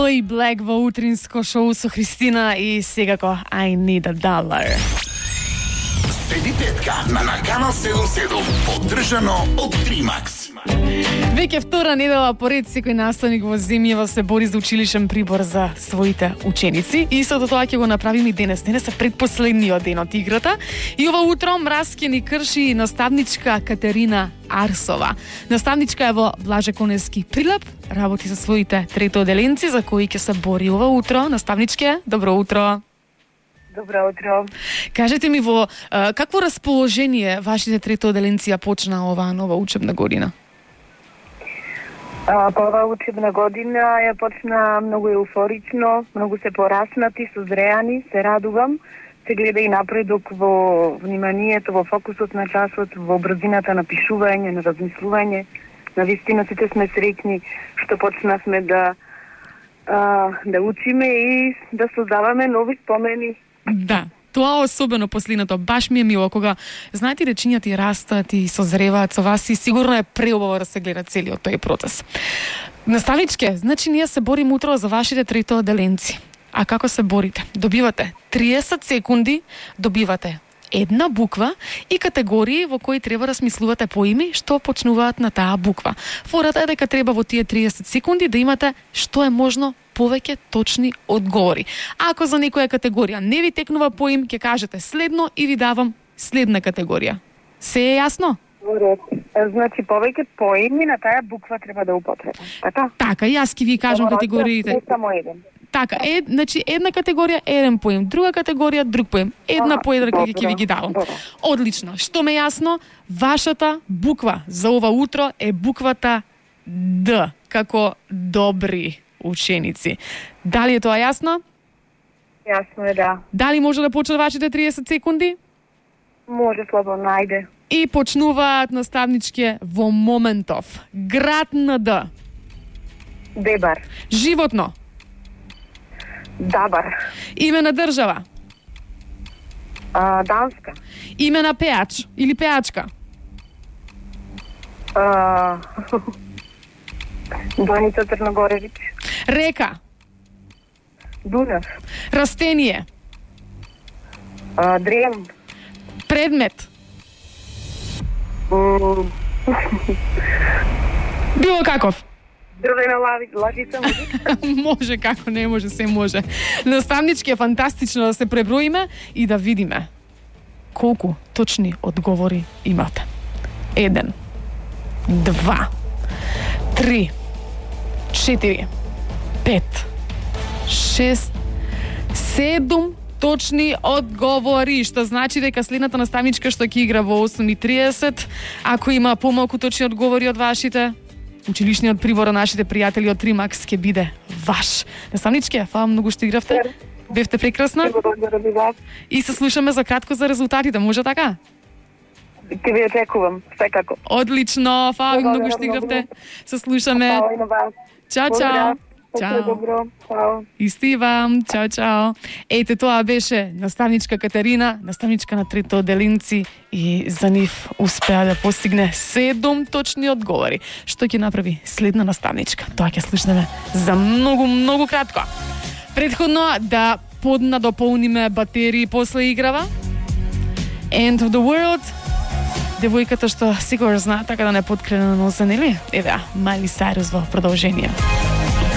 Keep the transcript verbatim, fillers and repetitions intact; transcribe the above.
Aloe Black во утринско шоу со Христина и секако I Need a Dollar. Седи петка на Наканал седум седум, поддржано од Тримакс. Веќе втора недела поред секој наставник во земјава се бори за училишен прибор за своите ученици. И истото тоа ќе го направиме и денес. Денес е предпоследниот ден од играта. И ова утро мраз ќе ни крши наставничка Катерина Арсова. Наставничка е во Блаже Конески Прилеп, работи за своите третоделенци за кои ќе се бори ова утро. Наставничке, добро утро. Добро утро. Кажете ми во а, какво расположение вашите третоделенци ја почна оваа нова учебна година? А, па оваа учебна година ја почна многу еуфорично, многу се пораснати, созреани, се радувам. Се гледа и напредок во вниманието, во фокусот на часот, во брзината на пишување, на размислување. Навистина сите сме среќни што почнавме да а, да учиме и да создаваме нови спомени. Да, тоа особено последното, баш ми е мило кога знаете речињата и растат и созреваат со вас и сигурно е преубаво да се гледа целиот тој процес. Наставничке, значи ние се бориме утро за вашите третоделенци. А како се борите? Добивате триесет секунди, добивате една буква и категории во кои треба да смислувате поими што почнуваат на таа буква. Фората е дека треба во тие триесет секунди да имате што е можно повеќе точни одговори. Ако за некоја категорија не ви текнува поим, ќе кажете следно и ви давам следна категорија. Се е јасно? Значи повеќе поими на таа буква треба да употребам. Така? Така, јас ќе ви кажам категориите. Не само еден. Така, е, значи една категорија еден поим, друга категорија друг поим, една Ага, поедрака добро, ќе ви ги давам. добро. Одлично. Што ме јасно, вашата буква за ова утро е буквата Д, како добри ученици. Дали е тоа јасно? Јасно е, да. Дали може да почнат вашите триесет секунди? Може слободно, најде. И почнуваат наставничке во моментов. Град на Д. Дебар. Животно. Дабар. Име на држава. А, Данска. Име на пеач или пеачка. А, Даница Црногоревич. Река. Дунав. Растение. А, Дрем. Предмет. М, Било каков. Дрвена лави, лажица, може? Може, како не може, се може. Наставнички е фантастично да се преброиме и да видиме колку точни одговори имате. Еден, два, три, четири, пет, шест, седум точни одговори, што значи дека следната наставничка што ќе игра во осум и триесет, ако има помалку точни одговори од вашите, училишниот прибор на нашите пријатели од Тримакс ќе биде ваш. Наставничке, фала многу што игравте. Бевте прекрасна. Благодарам ви вас. И се слушаме за кратко за резултатите, може така? Ќе ви очекувам, секако. Одлично, фала ви многу што Благодарам игравте. многу. Се слушаме. Фала и на вас. Чао, чао. Благодарам. Се Чао. добро. Чао. Исти вам. Чао, чао. Ете, тоа беше наставничка Катерина, наставничка на третоделенци и за нив успеа да постигне седум точни одговори. Што ќе направи следна наставничка? Тоа ќе слушнеме за многу, многу кратко. Предходно да поднадополниме батерии после играва. End of the World. Девојката што сигурно знае така да не подкрена на носа, нели? Еве, Майли Сайрус во продолжение.